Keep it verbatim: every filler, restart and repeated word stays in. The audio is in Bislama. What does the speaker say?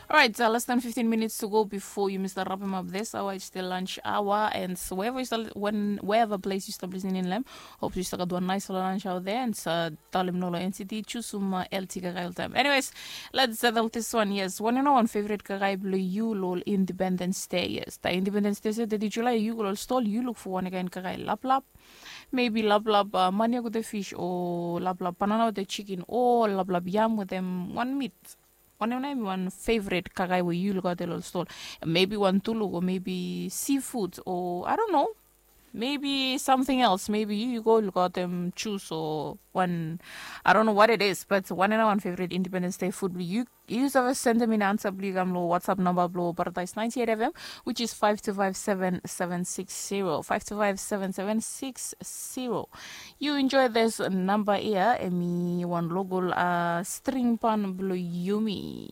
Alright, uh, less than fifteen minutes to go before you miss the wrap him up this hour. It's the lunch hour, and so wherever you start, when wherever place you start listening in, Lem, hope you start wan nice lunch out there, and uh, talem nolo N C T choose some uh, L T kakae all time. Anyways, let's settle this one. Yes, one and one favorite kakae blue you lol Independence Day. Yes, the Independence Day said that July you go all stall you look for one again kakae lap lap. Maybe lap lap uh, mania with the fish or lap lap banana with the chicken or lap lap yam with them one meat. One of them one favorite kakae where you look at the little stall. Maybe one tuluk or maybe seafood or I don't know. Maybe something else. Maybe you, you go look at them choose or one I don't know what it is, but one and one favorite Independence Day food you use of a send them in answer bli kam lo WhatsApp number blo Paradise ninety-eight F M, which is five two five seven seven six zero. Five two five seven seven six zero. You enjoy this number here, emi one local uh, string pan blo Yumi.